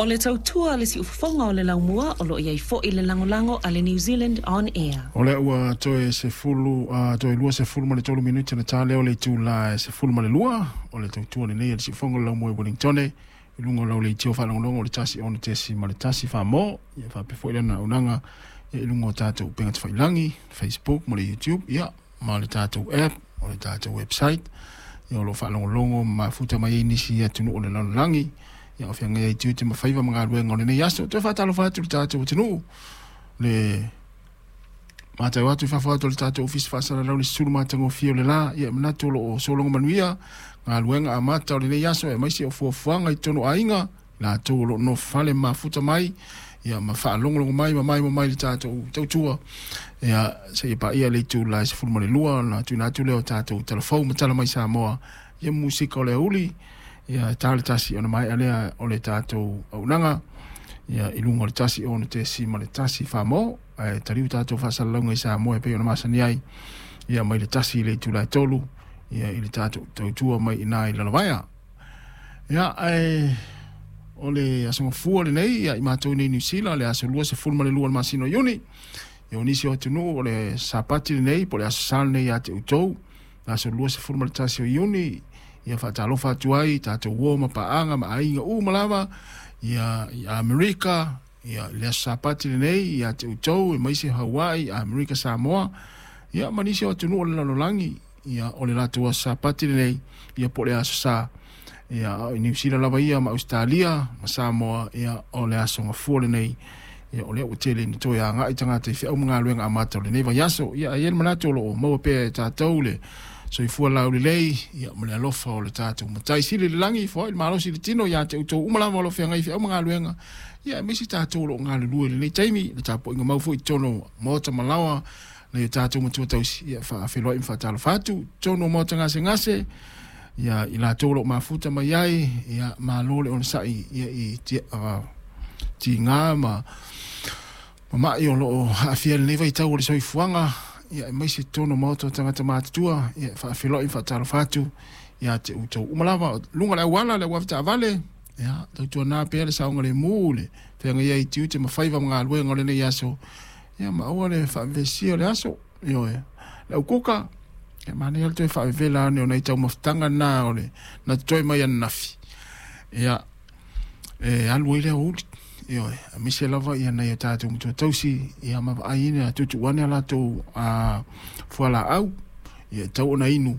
O le tautua a le siufofoga o le laumua o lo o i ai foi le lagolago a le New Zealand On Air. O lea ua toe 10, toe 23 minute na ta lea o le itula e 12, o le tautua lenei a le siufofoga o le laumua i Wellingtone, i luga o lau leitio faalogologo o le 1 6.1 Samoa, ia faapea foi lana auaunaga ia i luga o tatou upega tafailagi, Facebook ma le YouTube, ia ma le tatou app, o le tatou website, ia o lo o faalogologo ma mafuta mai ai nisi atunuu o le lalolagi, ia o feagai ai tiute ma faiva ma galuega o lenei aso. Toe faatalofa atu i le tatou atunuu, le matau atu i fafo atu o le tatou ofisa faasalalau le susulu matagofie o le la, ia e manatu o lo o sologa manuia galuega amata o lenei aso, aemaise o fuafuaga i totonu o aiga, latou o lo o nofo fale ma mafuta mai, ia ma faalogologo mai ma maimoa mai i le tatou tautua, ia seia paia le itula e 12 ona tuuina atu lea o tatou talafou ma tala mai Samoa, ia musika o le aoauli, ia e ta le 1 ona maea lea o le tatou auaunaga, ia i luga o le 1 6.1 Samoa, ae taliu tatou faasalalauga i Samoa e pei ona masani ai, ia mai le 1 i le itula e 3, ia i le tatou tautua mai i ina i Lalovaea. Ia, ae o le aso Gafua lenei ia i matou nei Niu Sila, le aso 22 o le masina o Iuni. Ia o nisi o atunuu o le Sapati lenei po o le aso Sa lenei ia te outou, le aso 21 o Iuni, ia faatalofa atu ai tatou uo ma paaga ma aiga uma lava ia i Amerika, ia le aso Sapati lenei ia te outou, aemaise Hawaii, Amerika, Samoa, ia ma nisi o atunuu o le lalolagi, ia o le latou aso Sapati lenei, ia po o le aso Sa. Ia i Niu Sila lava ia ma Ausetalia ma Samoa, ia o le aso Gafua lenei, ia o lea ua tele ina toe agai tagata i feau ma galuega amata o lenei vaiaso. Ia ai le manatu o lo o maua pea e tatou le soifua laulelei, ia ma le alofa o le tatou Matai Sili i le lagi, foai le malosi i le tino ia te outou uma lava o lo o feagai i feau ma galuega, ia aemaise tatou o lo o galulue i lenei taimi, le tapuaiga mau foi i totonu o maota ma laoa nai o tatou matua tausi, ia faafeiloai ma faatalofa atu totonu o maota gasegase, ia i latou o lo o mafuta mai ai, ia malo le onosai ia i tiga ma mai o lo o aafia i lenei vaitau o le soifuaga, ia aemaise totonu o maota o tagata matutua, ia faafeiloai ma faatalofa atu ia te outou uma lava luga o le auala, le auavetaavale, ia tautuana pea le saogalemu le feagai ai i tiute ma faiva ma galuega o lenei aso, ia ma aua le faavevesia o le aso. Ioe, le aukuka, ia manaia le toe faavevela ane o nai taumafataga na o le na totoe mai ananafi, ia e alu ai le aoauli. Ioe, aemaise lava ia nai o tatou matua tausi, ia ma vaai ina tuutuu ane a latou fualaau, ia e tau ona inu,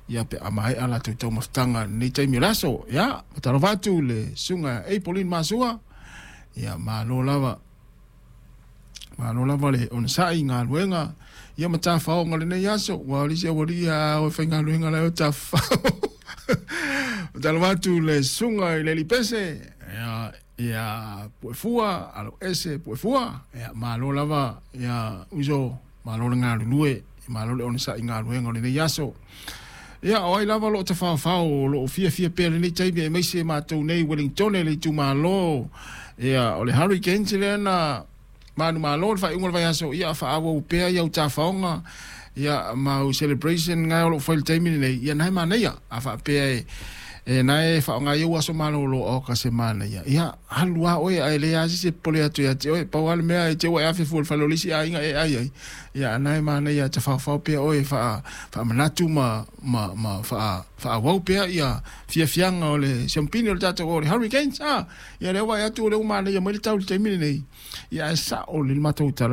ia pe a maea latou taumafataga i lenei taimi o le aso. Ia, faatalofa atu le susuga Apolin Masua, ia malo lava, malo lava le onosai i galuega ia ma tafaoga o lenei aso, ua o le isi aualii a o e faigaluega la e o tafafao. Faatalofa atu le susuga i le Alii Pese, ia, ia Puefua, alo ese Puefua, ia malo lava, ia uso, malo le galulue, malo le onosai i galuega o lenei aso. Ia, o ai lava o lo o tafaofao, o lo o fiafia pea lenei taimi, aemaise matou nei Wellingtone le itumalo, ia o le Hurricanes lea na manumalo le faaiuga o le vaiaso, ia faaauau pea ia utafaoga, ia mau celebration ngai o lo o fai i le taimi lenei, ia nae manaia a faapea e nae faaaoga ai ou aso malolo o ka se manaia, ia alu lava oe ae le asi se popole atu ia te oe, pau lava le mea e te ua e afe fua i le fale o le isi aiga e ai ai, ia nae manaia tafaofao pea oe faamanatu ma faaauau pea ia fiafiaga o le siampini o le tatou o le Hurricanes, a ia lea ua atu o lea ua manaia mai le tau i le taimi lenei, ia ae sao le matou tala.